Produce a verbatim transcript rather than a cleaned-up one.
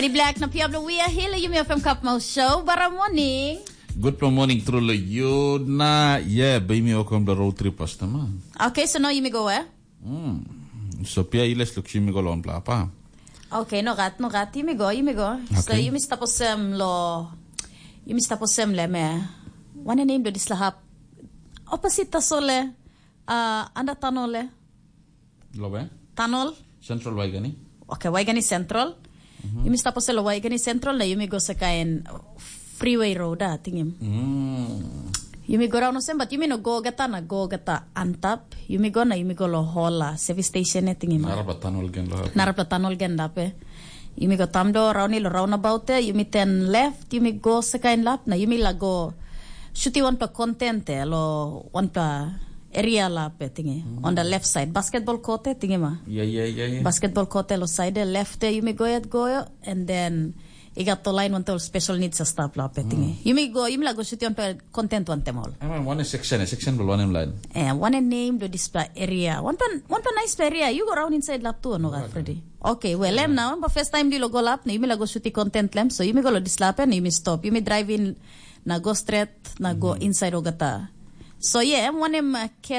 Di Black na pia bilong We Are Here, yumi FM Cup Mouse Show, bara morning. Good morning, truly. You na, yeah, baby, welcome to road trip, customer. Okay, so now yumi go where? Hmm. So pia iles luk yumi go lon plapa. Okay, no gat, no gat, yumi go, yumi go. So Okay. Yumi stop osem lo, yumi stop osem le me. Wane name do disla hap. Opposite tasole, uh, anda tanole. Lo be? Tunnel. Central Waigani. Okay, Waigani Central. Yumi stop osem lo Waigani Central na yumi go sekain freeway road, ah, tingim. Mm. Yumi go raun osem, but yumi no go gata na go gata antap. Yumi go na yumi go lo hola service station e tingim. Narapla tunnel gen lo. Narapla tunnel gen dape. Yumi go tamdo rauni lo roundabout e, yumi ten left, yumi go sekain lap na yumi la go shuti wanpela content e lo wanpela area lap e tingi. On the left side, basketball court e tingi ma. Yeah, yeah, yeah, yeah. Basketball court e lo side e left e yumi go yet go, and then i gat to line wantel special needs a stap lap e tingi. Yumi go, yumi la go shuti wanpela content wantem ol. I mean, one is section, section will one in line. Eh, one name do dispela area. Wanpela, wanpela nice area. You go around inside lap too, no, Freddy? Okay, well, em now, but first time di lo go lap, na yumi la go shuti content lem, so yumi go lo dislap, na yumi stop. Yumi drive in na go straight, na go inside ogata. So yeah, em wanem uh,